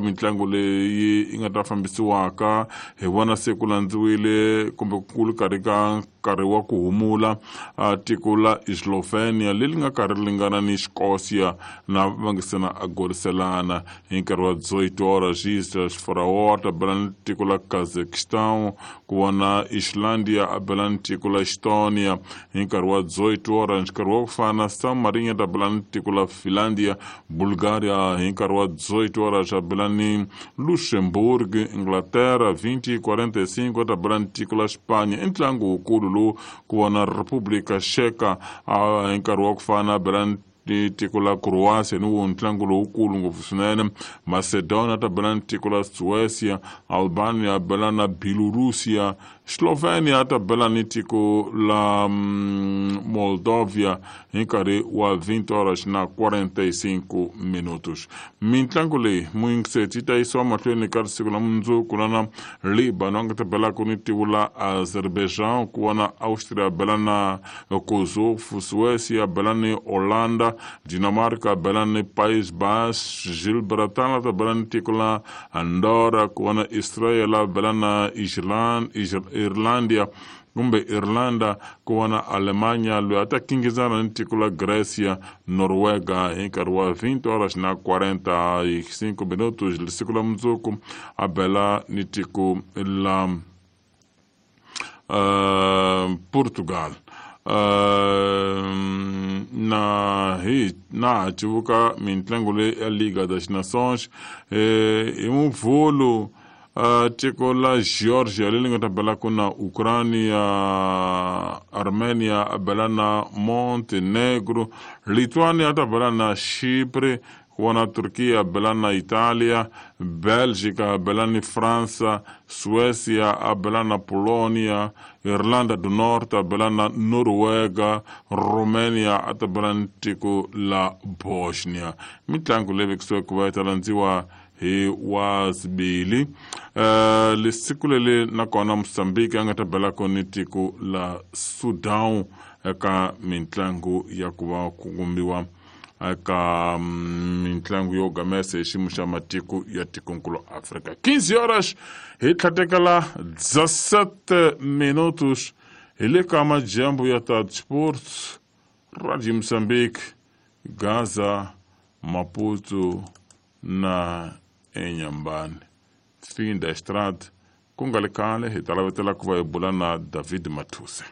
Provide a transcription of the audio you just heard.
mitlangu leyi yi nga ta fambisiwaka hi vona se ku landziwile kumbe ku ri karhi ka nkarhi wa ku humula tiko la Slovenia leri nga karhi ringana ni Scotia na va nga se na agoriselana hi nkarhi wa 18 horas Faraó ta bela ni tiko la Kazakhstan ku vona Islandia a bela ni tiko la Estonia hi nkarhi wa 18 horas nkarhi wa ku fana San Marino ta bela ni tiko la Finlandia Bulgaria hi nkarhi wa 18 horas a bela ni Luxembourg Inglaterra 20:45 ta bela ni tiko la Spanya i ntlangu wukulu lowu ku vona República Checa hi nkarhi wa ku fana a bela ni tiko la Croatia ni wo ntlangu lowukulu ngopfu swinene Macedonia ta bela ni tiko la Suecia Albania bela na Bielorussia Slovenia ta bela ni tiko la Moldovia hi nkarhi wa 20 horas na 45 minutos. Mintlangu leyi muyingiseti yi ta yisiwa mahlweni ka siku la mundzuku na Libano a nga ta belaka ni tiko la Azerbaijan ku vona Austria bela na Kosovo Suecia bela ni Holanda Dinamarca bela ni País Baixo Gibraltar ta bela ni tiko la Andorra ku vona Israel bela na Irlandia kumbe Irlanda ku vona Alemanya loyi a ta kingizana ni tiko la Grecia Noruega hi nkarhi wa 20 horas na 45 minutos siku la mundzuku a bela ni tiko la Portugal. Na hi na civuka mintlangu leyi ya Liga das Nações hi Muvhulu tiko la Georgia leri nga ta belaka na Ukraine Armenia a bela na Montenegro Lithuania ta bela na Chypre ku vona Turkiya bela na Italia Belgica a bela ni Fransa Suecia a bela na Polonia Irlanda do Norte a bela na Noruega Romania a ta bela ni tiko la Bosnia. Mitlangu leyi vekisiweke ku va yi ta landziwa hi wasibili lesiku leli nakona Mozambique a nga ta belaka ni tiko la Sudan eka mintlangu ya ku va ku kumbiwa eka mintlangu yo gamesa hi xiyimo xa matiko ya tikonkulu Afrika. 15 horas hi tlhatekela 17 minutos hi le ka madyambu ya ta Sports Radio Mozambique Gaza Maputo na Inhambane. Fim da estrada ku nga le khale hi ta lavetela ku va hi bula na David Mathuse.